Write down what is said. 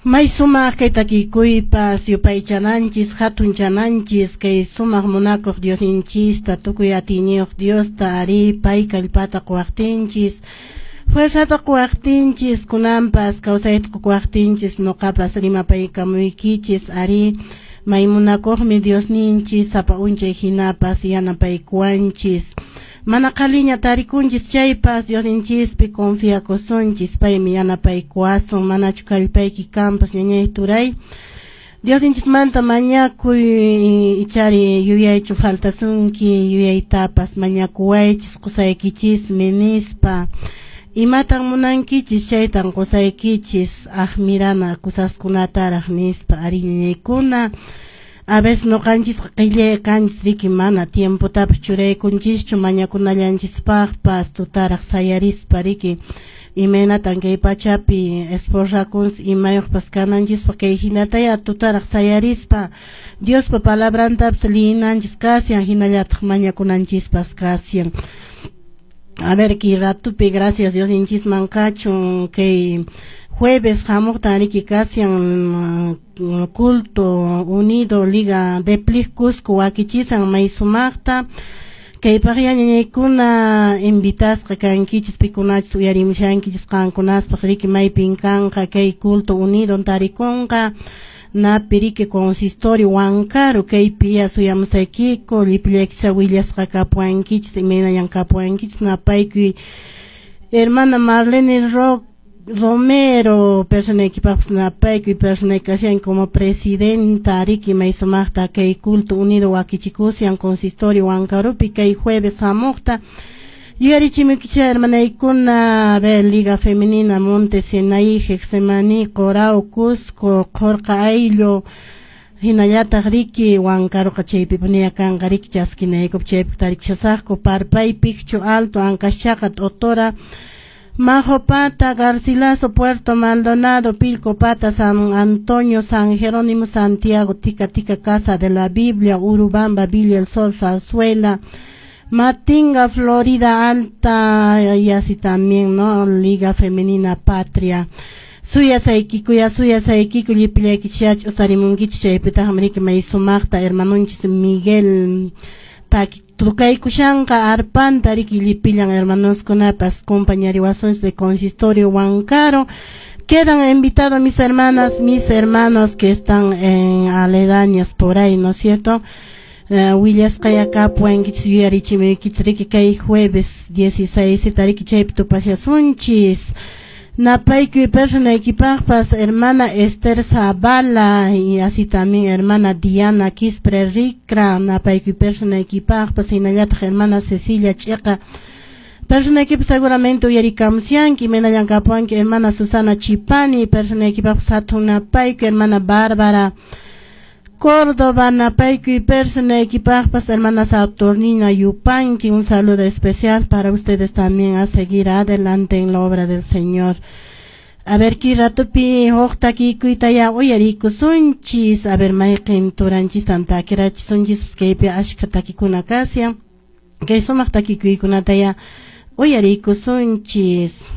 May sumaq kay takikuypas yupaychananchis hatunchananchis kay sumaq munakuq Diosninchista tukuy atiyniyuq Diosta ari pay kallpata quwaqtinchis fuerzata quwaqtinchis kunanpas kawsayta quwaqtinchis nuqapas rimapaykamuykichis ari may munakuqmi Diosninchis sapa unchay hinapas yanapaykuwanchis mana qhaliña tarikunchis chaypas Diosninchispi confiakusunchis paymi yanapaykuwasun manachu kallpayki kanpas ñañay turay Diosninchismanta mañakuy ichari yuyaychu faltasunki yuyaytapas mañakuwaychis qusaykichismi nispa imatan munankichis chaytan qusaykichis aqmirana kusaskunataraq nispa ari ñañaykuna a veces nuqanchisqa qillay kanchis riki mana tiempotapas churaykunchischu mañakunallanchispaqpas tutaraq sayarispa riki imaynatan kay pachapi esforzakunchis imayuqpas kananchispaq kay hinataya tutaraq sayarispa Diospa palabrantapas liyinanchis kashan hinallataq mañakunanchispas kashan. A ver, kay ratupi gracias Diosninchisman kachun kay jueves hamuqtan riki kashan culto unido Liga de Plik Cusco wakichisan may sumaqta kaypaq ñañaykuna invitasqa kankichis pikunachis uyarimushankichis qankunaspaq riki maypin kanqa kay culto unido tarikunqa napi riki consistorio Huancaru kaypi ya suyamusaykiku llipillaykicha willasqa kapuwankichis imaynallan kapuwankichis napaykuy hermana Marlene Rock Romero personaykipaqpas napaykuy personay kashan como presidenta riki may sumaqta kay culto unido wakichikusian consistorio Huancarupi kay jueves hamuqta yuyarichimuykichis hermanaykuna a ver Liga Femenina Monte Sinaí Getsemaní Corao Cusco Qhurqa Ayllu hinallataq riki Huancaruqa chaypipuniya kanqa riki chaskinaykup chaypi tarikushasaqku Parpay Picchu Alto Ancaschaqa T'otora Majopata, Garcilaso, Puerto Maldonado, Pilcopata, San Antonio, San Jerónimo, Santiago, Tica Tica, Casa de la Biblia, Urubamba, Villa El Sol, Zarzuela, Matinga, Florida Alta, y así también, ¿no? Liga Femenina Patria. Suyasaykiku ya suyasaykiku llipillaykichach usarimunkichis chaypitaqmi riki may sumaqta hermanunchis Miguel tukaykushanqa arpanta riki llipillan hermanoskunapas compañariwasunchis de consistorio Huancaro. Quedan invitados mis hermanas, mis hermanos que están en aledañas por ahí, ¿no es cierto? Willasqaya kapuwankichis yuyarichimuykichis riki kay jueves 16 riki chaypi tupashasunchis. Napaykuy personaykipaqpas hermana Esther Zavala y así también hermana Diana Quispre Ricra, napaykuy personaykipaqpas hinallataq hermana Cecilia Ch'iqa personaykipas seguramente uyarikamusyanki imaynallan kapuwanki hermana Susana Chipani personaykipaqpas hatun napaykuy hermana Bárbara Córdoba, napaykuy personaykipaqpas hermana Saturnina Yupanqui, un saludo especial para ustedes también a seguir adelante en la obra del Señor. A ver, kay ratupi huk takikuyta uyarikusunchis, a ver, mayqin turanchistan takirachisunchis, kaypi ashka takikuna kashan, kay sumaq takikuykunata ya uyarikusunchis.